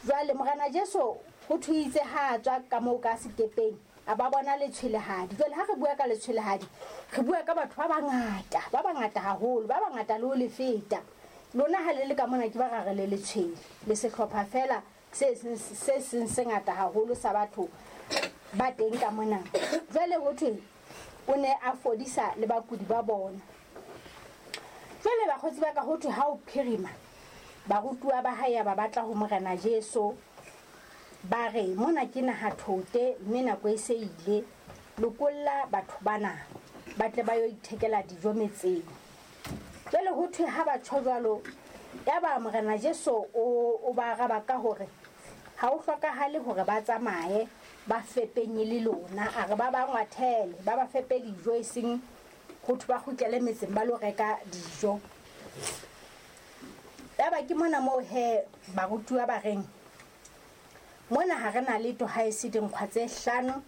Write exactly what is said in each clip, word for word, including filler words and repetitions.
Jwale Morena Jesu ho thuitse ha a tswa ka moo ka sekepeng, a ba bona letshwelehadi. Jwale ha re bua ka letshwelehadi, re bua ka batho ba bangata, ba bangata haholo, ba bangata le ho le feta. Lona ha le le ka mona ke ba ra re le letshwele, le sehlopha fela se seng se seng se ngata haholo sa batho ba teng ka mona. Jwale ho thwe o ne a fodisa le bakudi ba bona. Jwale bakgotsi ba ka, ho thwe ha o phirima, barutuwa ba hae ba batla ho Morena Jesu, ba re mona ke naha thote mme nako e se ile, lokolla batho bana ba tle ba yo ithekela dijo metseng. Jwale ho thwe ha ba tjho jwalo, yaba Morena Jesu o, o ba araba ka hore ha ho hlokahale hore ba tsamaye ba fepenye le lona, a re ba ba ngwathele, ba ba fepe dijo, e seng ho thwe ba kgutlele metseng ba lo reka dijo. Yaba ke mona moo he barutuwa ba reng mona ha re na letho ha e se dinkgwa tse hlano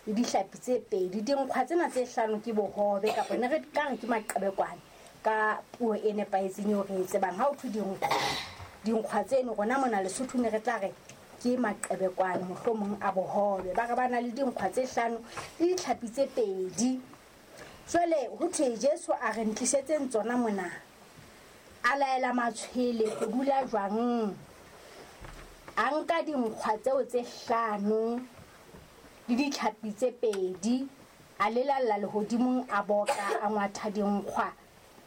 le dihlapi tse pedi. Dinkgwa tsena tse hlano ke bohobe, kapa ne re ka re ke maqebekwane ka puo e nepahetseng eo re e tsebang. Ha ho thwe dinkgwa, dinkgwa tseno rona mona Lesotho ne re tla re ke maqebekwane mohlomong a bohobe. Ba re ba na le dinkgwa tse hlano le ditlhapi tse pedi. Jwale ho thwe Jesu a re ntlisetseng tsona mona, a laela matshwele ho dula jwang. A nka dinkgwa tseo tse hlano le ditlhapi tse pedi, a lelalla lehodimong, a boka, a ngwatha dinkgwa,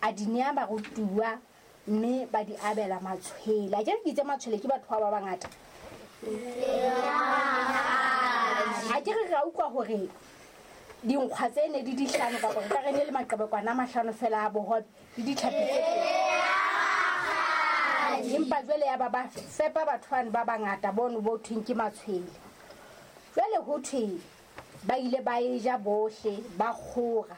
a di nea barutuwa, mme ba di abela matshwele. A ke re ke itse matshwele ke batho ba ba bangata. A ke re ra utlwa hore dinkgwa tse ne di dihlano, kapa re ka re ne le maqebekwana a mahlano fela a bohobe le ditlhapi tse pedi. Empa jwale ya ba ba fepa batho bano ba bangata bono bo thweng ke matshwele. Jwale ho thwe ba ile ba e ja bohle, ba kgora,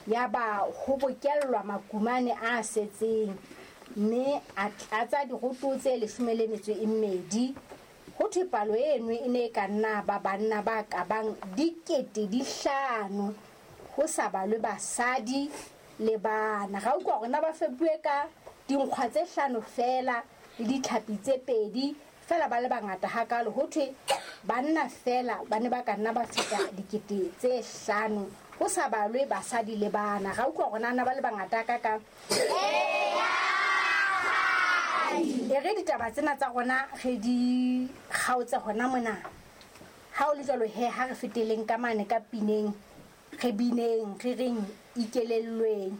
ya ba ho bokellwa makumane a setseng, mme a tlatsa diroto tse leshome le metso e mmedi. Ho thwe palo eno e ne e ka nna ba banna ba ka bang dikete di hlano, ho sa balwe basadi le bana. Ra utlwa hore na ba fepuwe ka dinkgwa tse hlano fela le ditlhapi tse pedi fela, ba le bangata hakalo. Ho thwe banna fela ba ne ba ka nna ba feta dikete tse hlano, ho sa balwe basadi le bana. Ra utlwa hore na ba le bangata hakakang. E re ditaba tsena tsa rona re di kgaotse hona mona. Ha o le jwalo he, ha re feteleng ka mane ka pineng, re bineng, re reng ikelellweng.